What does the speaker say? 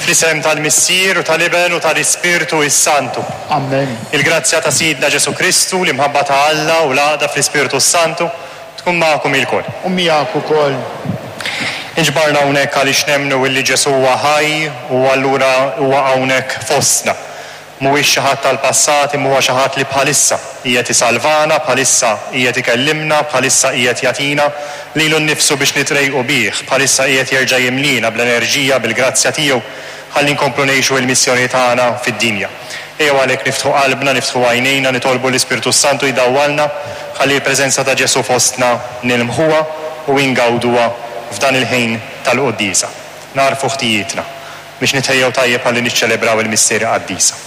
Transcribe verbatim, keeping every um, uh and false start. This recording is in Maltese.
Fl-isem tal-Missier u tal-Iben u tal-Ispirtu is-Santu. Amen. Il-grazzja ta' Sidna Ġesu Kristu, l-imħabba ta' Alla u l-għaqda fl-Ispirtu Santu tkun magħkom ilkoll. U miegħek ukoll. Inġbarna hawnhekk għaliex nemmnu illi Ġesu huwa ħaj u allura huwa hawnhekk fostna. Mhuwiex xi ħadd tal-passat imma huwa xi ħadd li bħalissa qiegħed isalvana, bħalissa qiegħed ikellimna, bħalissa qiegħed jagħtina lilu nnifsu biex nitrejqu bih, bħalissa qiegħed jerġa' jimlina bl-enerġija, bil-grazzja tiegħu ħalli nkomplu ngħixu il-missjoni tagħna fid-dinja. Ejjew għalhekk niftħu qalbna, niftħu għajnejna, nitolbu l-Ispirtu Santu jdawwalna ħalli l-preżenza ta' Ġesu fostna nilmħuha u ingawduha f'dan il-ħin tal-quddiesa. Nagħrfu ħtijietna biex nitħejjew tajjeb ħalli niċċelebraw il-misteri qaddisa.